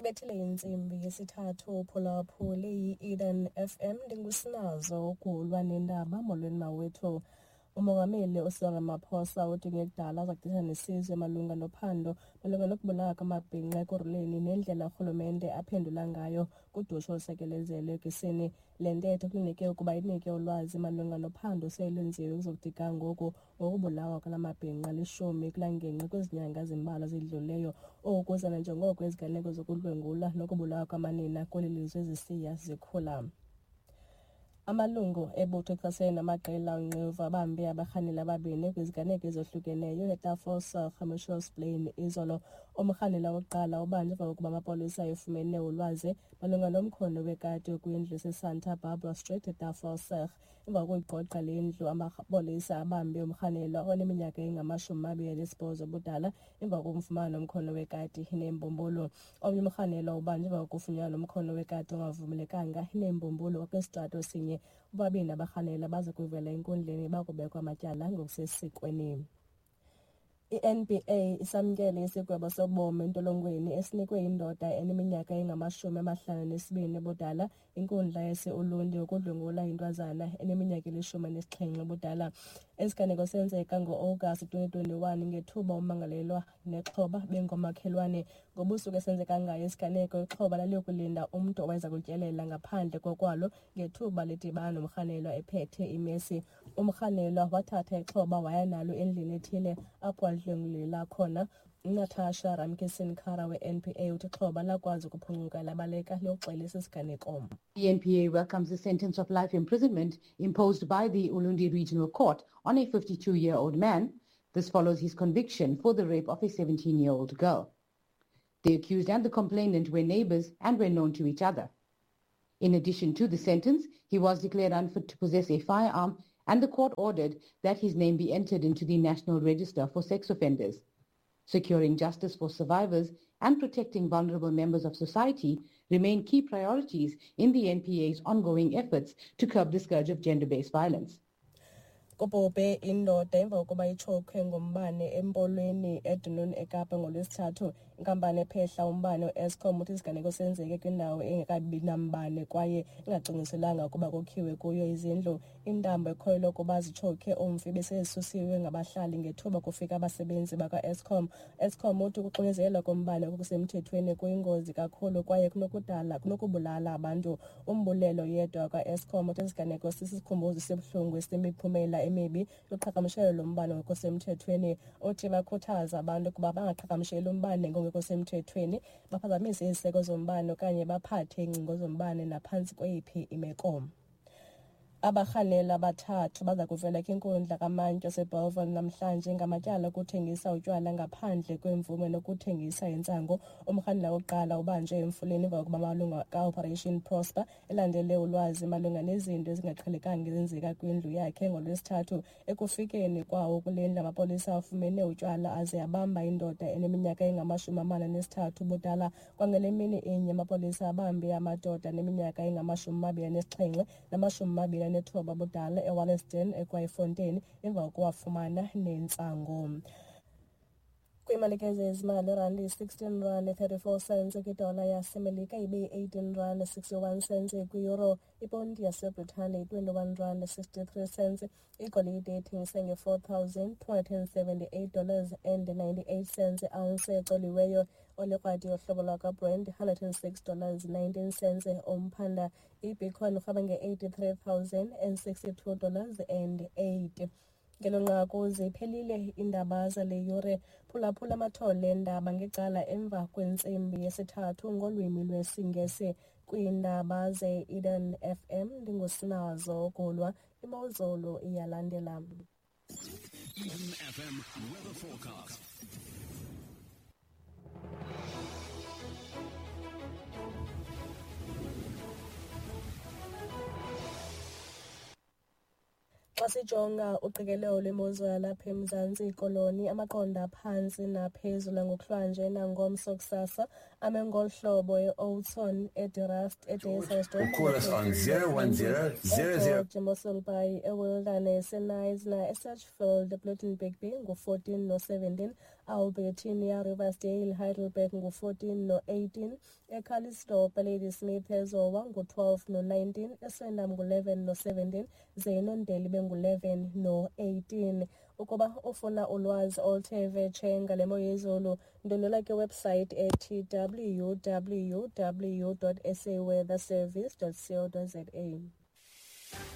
Ibethile intsimbi yesithathu uphulaphule yi-Eden FM. Ndingusinazo ukulwa nendaba. Molweni mawethu. Umongameli uCyril Ramaphosa uthi kungekudala uza kuthetha nesizwe malunga nophando malunga nokubulawa kwamabhinqa ekuruleni nendlela urhulumente aphendula ngayo kudushe olusekelezelwe kwisini. Le ntetho kulindeleke ukuba inike ulwazi malunga nophando oselwenziwe ukuzokuthi ga ngoku ngokubulawa kwala mabhinqa 10 kula ngingqi kwezi nyanga zimbalwa zidlulileyo. Oku kuza nanjengoko iziganeko zokudlwengulwa nokubulawa kwamanina kweli lizwe zisiya zikhula. Amalungu ebutho echasene namaqela onqevu abambe abarhaneli ababini kwiziganeko ezohlukeneyo eTafelsig eMitchells Plain izolo. Umrhanelwa wokuqala ubanjwe emva kokuba amapolisa efumene ulwazi malunga nomkhondo wekati okwindlu eseSanta Barbara Street eTafelsig. Emva kokuyigqogqa le ndlu, amapolisa abambe umrhanelwa oneminyaka engama-28 ubudala emva kokumfumana nomkhondo wekati neembumbulu. Omnye umrhanelwa ubanjwe emva kokufunyanwa nomkhondo wekati ongavumelekanga neembumbulu kwisitrato esinye. Bobabini abarhanelwa baza kuvela enkundleni bakubekwa amatyala ngokusesikweni. I-NPA isamkele isigwebo sobomi entolongweni esinikwe indoda eneminyaka engama-52 ubudala inkundla yase-Ulundi ngokudlwengula intwazana eneminyaka eli-17 ubudala. Esiganeko senzeka ngo-Agasti 2021 ngethuba ummangalelwa nexhoba bengomakhelwane. Ngobusuku esenzeka ngayo isiganeko, ixhoba laliyokulinda umntu owayeza kutyelela ngaphandle kokwalo ngethuba lidibana nomrhanelwa ephethe imesi. Umrhanelwa wathatha ixhoba waya nalo endlini ethile apho walidlwengulela khona. UNatasha Ramkisson-Kara we-NPA uthi ixhoba lakwazi ukuphuncuka labaleka liyoxela esi siganeko. The NPA welcomes the sentence of life imprisonment imposed by the Ulundi Regional Court on a 52-year-old man. This follows his conviction for the rape of a 17-year-old girl. The accused and the complainant were neighbors and were known to each other. In addition to the sentence, he was declared unfit to possess a firearm and the court ordered that his name be entered into the National Register for Sex Offenders. Securing justice for survivors and protecting vulnerable members of society remain key priorities in the NPA's ongoing efforts to curb the scourge of gender-based violence. Kubhubhe indoda emva kokuba itshokhwe ngumbane empolweni eDunoon eKapa ngoLwesithathu. Inkampani ephehla umbane uEskom uthi isiganeko senzeke kwindawo engekabi nambane kwaye engacwangciselwanga ukuba kokhiwe kuyo izindlu. Iintambo ekholelwa ukuba zitshokhe umfi besezisusiwe ngabahlali ngethuba kufika abasebenzi bakwaEskom. Eskom uthi ukuxinizelwa kombane okusemthethweni kuyingozi kakhulu kwaye kunokudala kunokubulala abantu. Umbulelo Yedwa wakwaEskom uthi isiganeko sisikhumbuzo esibuhlungu esinemiphumela emibi yoqhagamshelo lombane ngokusemthethweni. Uthi bakhuthaza abantu ukuba bangaqhagamsheli umbane ngokungekho semthethweni, baphazamise iziseko zombane okanye baphathe iingcingo zombane naphantsi kweyiphi imeko. Abarhanelwa abathathu baza kuvela kwinkundla kamantyi yaseBellville namhlanje ngamatyala okuthengisa utywala ngaphandle kwemvume nokuthengisa intsangu. Umrhanelwa wokuqala ubanjwe emfuleni emva kokuba amalungu kaOperation Prosper elandele ulwazi malunga nezinto ezingaqhelekanga ezenzeka kwindlu yakhe ngoLwesithathu. Ekufikeni kwawo kule ndlu, amapolisa afumene utywala aze abamba indoda eneminyaka engama-43 ubudala. Kwangale mini inye, amapolisa abambe amadoda aneminyaka engama-27 nama-29 ubudala eWalliston eKwaaifontein emva kokuwafumana nentsangu. Kwiimalike zezimali, irandi yi-16 rand 34 cents kwidola yaseMelika, ibe yi-18 rand 61 cents kwiyuro. Iponti yaseBritane yi-21 rand 63 cents. Igolide ithengise nge-$4,278 dollars and 98 cents iounce ecoliweyo. Olikrwadi yohlobo lwakwaBrent 106 dollars 19 cents umphanda. Ibitcoin irhweba nge-$83,062 dollars and 8. Ngelo nqaku ziphelile iindaba zale yure. Phulaphula amathole eendaba ngecala emva kwentsimbi yesithathu ngolwimi lwesiNgesi. Kwiindaba ze-Eden FM ndingusinazo Gulwa. Imozulu iyalandela. Eden FM weather forecast. Xa sijonga uqikelelo lwemozulu yalapha eMzantsi Koloni, amaqondo aphantsi naphezulu ngokuhlwanje nangomso kusasa ame ngolu hlobo: eOudtshoorn, eDeRust, eDysselsdorp, Call us on 010 00 eMossel Bay, eWilderness, eKnysna, eSedgefield, eBloedenburg ngu-14 no-17. Albertinia, Riversdale, Heidelberg ngu-14 no-18, eCalitzdorp, Ladysmith, eZowa ngu-12 no-19, eSwellendam ngu-11 no-17, ze iNondeli ibe ngu-11 no-18. Ukuba ufuna ulwazi oluthe vetshe ngale mo yezulu, ndwendwela kwiwebhusayithi ethi www.saweatherservice.co.za.